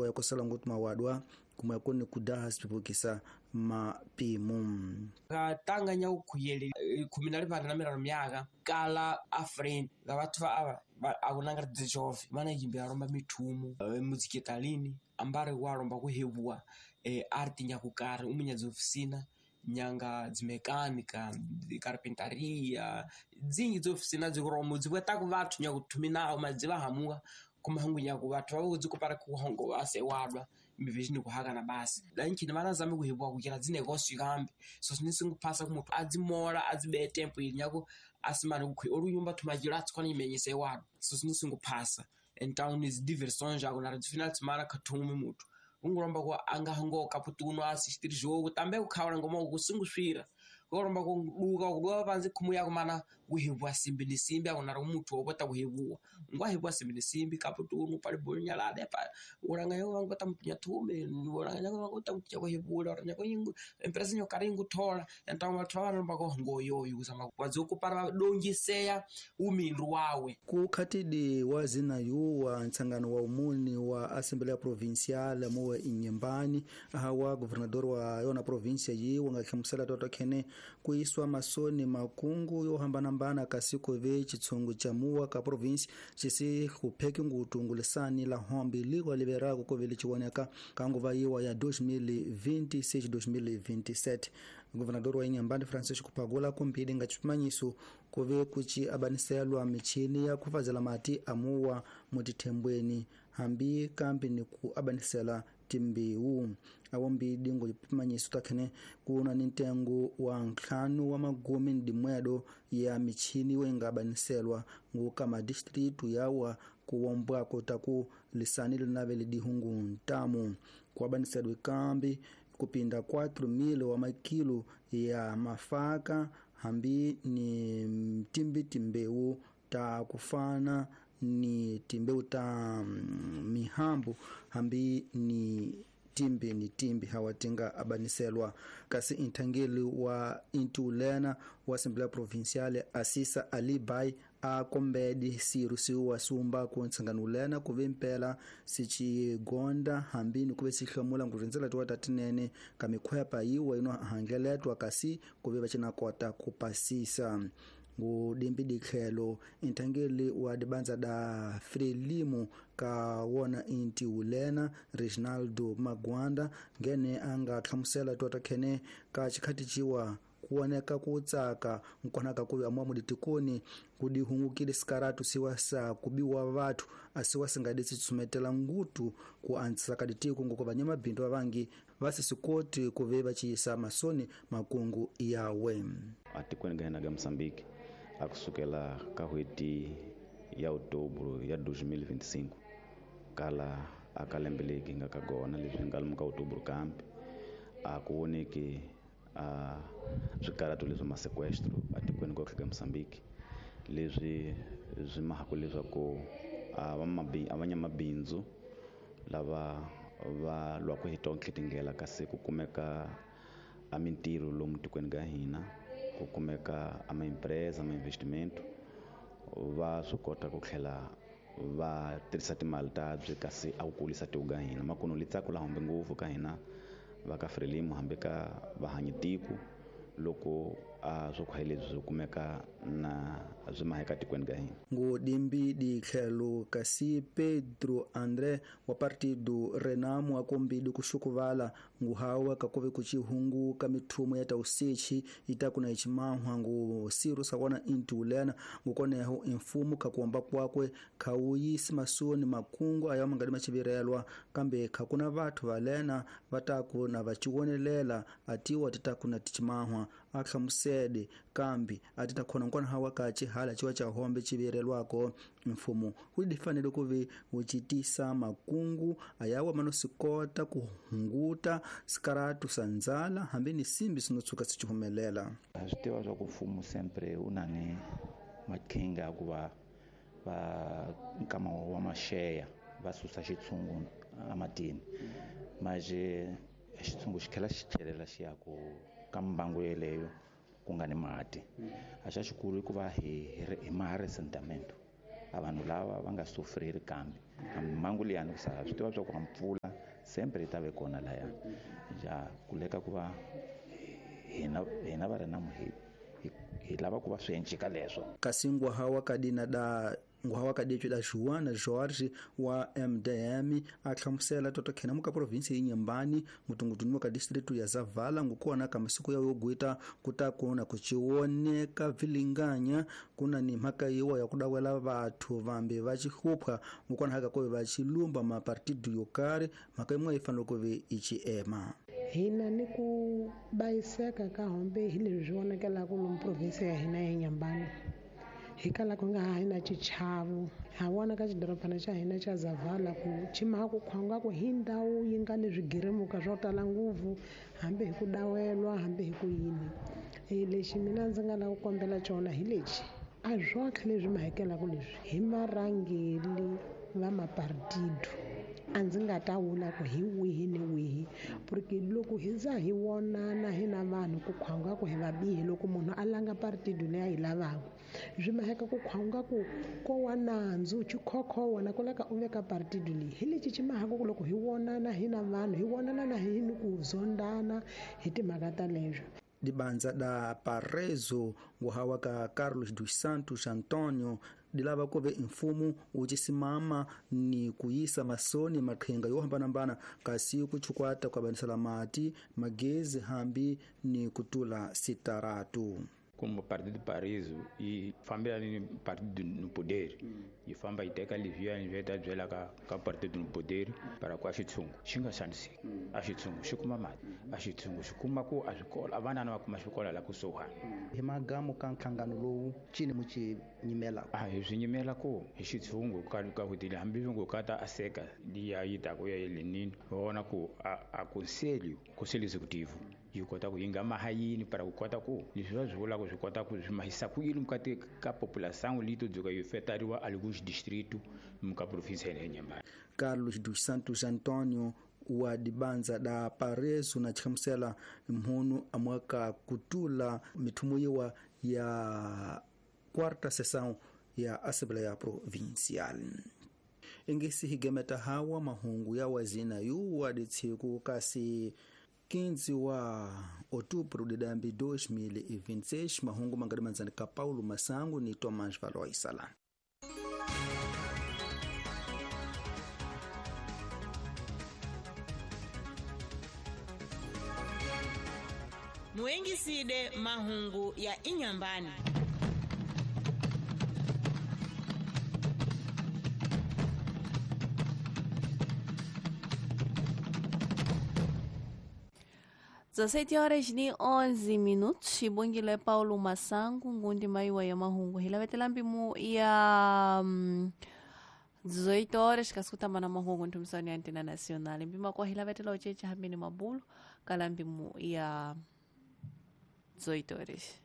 ya kosela ngutu mawadwa kumwe kuni kudaha sipipukisa mapimu. Katanga nya ukhuyele 15 myaka kala afrin ga bathu aba akunanga dzijove mana yimbe aromba mithumu muziketalini ambare waromba kuhebuwa art nyakukari umunya dzofisina nyanga dzimekanika carpentaria dzingi dzofisina dzikuromo dzibweta ku vathu nyakuthumina madziva hamuka kumahangu nyaku vathu vavo dzikupara kuhongo asewadwa mivizini kuhaka na basi lanchini vana zame kuhebuwa kuchira dzinekosi kambi so sinisinguphasa kumuthu adzimola adzibe tempo ili nyaku asimane kukhi olunyumba thumachilo atsikwana imenyese wadwa so sinisinguphasa and is diversões já agora de final de semana kathume muthu ungulomba ku angahongo kaputuno assistir jogo também kukhawula ngoma kusinguswira kulomba kuduka kuduka panzi khumu yako mana kuhebuwa simbi ni simbi akunara muthu wopota kuhebuwa ngwahebuwa simbi ni simbi kaputuno pali bonyalade pa ulanga yo wangota mtunya thume ulanga yo wangota mtunya kuhebula oranya ko empresa nyo karingu thola então bathu balomba ko ngoyoyo kusama wazokupara dongiseya umindu wawe. Kukhatidi wa zina yu wa ntsangano wa umuni wa Assembleia Provincial muwe Inhambane wa governador wa yona província yi wanga hlamusela toto khene kuiswa masoni makungu yo hambanambana kasi kuve chitsungu cha muwa ka province chisi kupheki ngutungulisani la hombi liko liberako kuvele chiwoneka kanguva yiwa ya 2026-2027. Governador wa Inhambane Francisco Pagula kumpidi nga chipimanyiso kuve kuchi abaniselwa michini ya kufazela mati amuwa mutithembweni hambi kambi ni ku abanisela timbewu awombidi ngo chipimanyiso takhene kuna ni ntengo wa ntlhanu wa magumi ndimwedo ya michini wenga abaniselwa nguka distritu yawa kuwombwako taku lisani linavele dihungu ntamu kuabaniselwa kambi kupinda 4,000 wa makilo ya mafaka hambi ni mtimbi timbewu ta kufana ni timbeu ta mihambu hambi ni timbi ni timbi hawatinga abaniselwa. Kasi intangeli wa intulena wa Assembleia Provincial Asisa Ali Bai a kombedi sirusiwa sumba ku ntsanganulena kuve mpela sichigonda hambini kuve sihlamula ngurindzela tiwa tatinene ka mikhwepa yiwa ino hangeletwa kasi kuve vacinakota kupasisa. Ngudimbi dikhelo inthangeli wa dibanza da Frelimo ka wona inti ulena Reginaldo Magwanda ngene anga hlamusela tota khene ka chikhati chiwa kuoneka kutsaka nkonaka kuve amwa muditikoni kudihungukile sikaratu siwa sa kubiwa vathu asiwa singadisi tsumetela ngutu ku antsaka ditiko ngoko vanyamabindu vavangi vasisikoti kuve vachiyisa masoni makungu yawe. Atikweni ga hina ga Mozambique akusukela ka hweti ya outubro ya 2025 kala akalembeleki nga ka gona leswi nga lomu ka outubro kambe a ku voneki a swikaratu leswi masequestro atikweni ko ka Mozambique leswi swi mahaku leswaku a vanyamabindzu lava va lwaku hi tonke tindlela kasi ku kumeka a mintirho lomu tikweni ka hina ku kumeka a ma-empresa ma-investimento va swi kota ku tlhela va tirhisa timali ta byi kasi a ku kulisa tiko ka hina makuno li tsako la hombe ngopfu ka hina va ka Frelimo hambi ka vahanyi tiko loko a swo khwaye leswi swi kumeka na swi maheka tikweni ka hina. Ngodimbi ditlhelo kasi Pedro André wa Partido Renamo akombidi kuxukuvala nguhawa kakuve kuchihungu ka mithumo ya tausechi itakuna ichimahwa ngu siru sakona intulena ngukoneho imfumo kakuomba kwakwe khawuyisi masoni makungu ayawa mangadi machivirelwa kambe khakuna vathu valena vataku na vachiwonelela atiwa titakuna tichimahwa ahlamusede kambi atitakhona nkona hawa kachi hala chiwa cha hombe chivirelwako mfumo ulifanele kuve uchitisa makungu ayawa manosikota kuhunguta sikaratu sanzala hambi ni simbi sinotsuka sichihumelela. Swi tiva swa ku mfumo sempre u na ni maqhinga ya ku va va nkama wa maxeya va susa xitshungu ematini maje xitshungu xi tlhela xi tlhelela xi ya ku ka mbangu yeleyo ku nga ni mati. A xa xikulu i ku va hi maha ressentimento A vanhu lava va nga sufriri kambe a mhangu liyani ku sala swi tiva swa ku a mpfula sempre yi ta ve kona laya ja kuleka ku va hina va ri na hi lava ku va swi encika leswo. Kasi ngwaha wa kadina da ngwaha wa kadetšo da Joana Jorge wa MDM a hlamusela toto khena muka provinsi ya Inhambane mutungutuni wa ka distritu ya Zavala ngukona ka masiku ya yogwita kuta kuona kuchioneka vilinganya kuna ni mhaka yiwa ya kudawela vathu vambe va xihlupha ngukona haka kove va xilumba mapartidu yo karhi mhaka yin'we yi fanele ku ve i xiema. Hina ni ku bayiseka ka hombe hi leswi swi vonakelaka lomu provinsi ya hina ya Inhambane hi kala ku nga ha na xichavo ha vona ka xidorobana xa hina xa Zavala ku chima ku khwanga ku hi ndhawu yi nga ni swigirimuka swo tala ngopfu hambi hi ku dawelwa hambi hi ku yini. Lexi mina ndzi nga lava ku kombela xona hi lexi a swotlhe leswi mahekelaka leswi hi marhangeli va mapartido a ndzi nga ta vula ku hi wihi ni wihi porque loko hi za hi vonana hina vanhu ku khwanga ku hi vabihi loko munhu a langa partido leyi a yi lavaka swi maheka ku khwanga ku ko wa nandzu xikhokho wona ku laka u veka partido leyi hi lexi xi mahaka ku loko hi vonana hina vanhu hi vonana na hi ni ku zondana hi timhaka ta leswo. Dibanza da Parezo nguhawa ka Carlos dos Santos Antonio dilava kuve mfumo wu cisimama ni kuyisa masoni maqhinga yo hambanahambana kasi ku chukwata ku avanisela mati magezi hambi ni kutula sitaratu. Como Partido Paraíso yi fambelana ni Partido no Poder yi famba yi teka leswiya ni ta byela ka Partido no Poder para ku a xitshungu xi nga xaniseki a xitshungu xi kuma mati a xitshungu xi kuma ku a swikolo a vanana va kuma xikolo la kusuhani. Hi magamu ka nhlangano lowu cini mu ci nyimela a hi swi nyimela ku hi xitshungu ka hutile hambi ngo ka ta aseka liya yi ta ku ya lenini vona ku a conselho executivo yi kota ku yi nga maha yini para ku kota ku leswi va swi vulaka swi kota ku swi mahisa ku yini mukati ka population leyi to dzuka yi fetariwa alguns distrito muka province ya Inhambane. Carlos dos Santos Antonio wa dibanza da Parezo na chihamusela mhunu amwaka kutula mithumo yiwa ya quarta sessão ya Assembleia Provincial. Engesi higemeta hawa mahungu ya wazina yuwa ditsiku kasi 15 wa outubro de 2026 mahungu mangadi manzani ka Paulo Masango ni Tomás Valois Salani. Muengiside mahungu ya Inhambane. Dezessete horas ni 11 minutos xibongile Paulo Masangu ngundi maiwa ya mahungu hi lavetela mpimu ya 18 horas kasi kutamba na mahungu nthumisano ya Antena Nacional mpima kwa hi lavetela ucheche hambini mabulu kala mpimu ya 18 horas.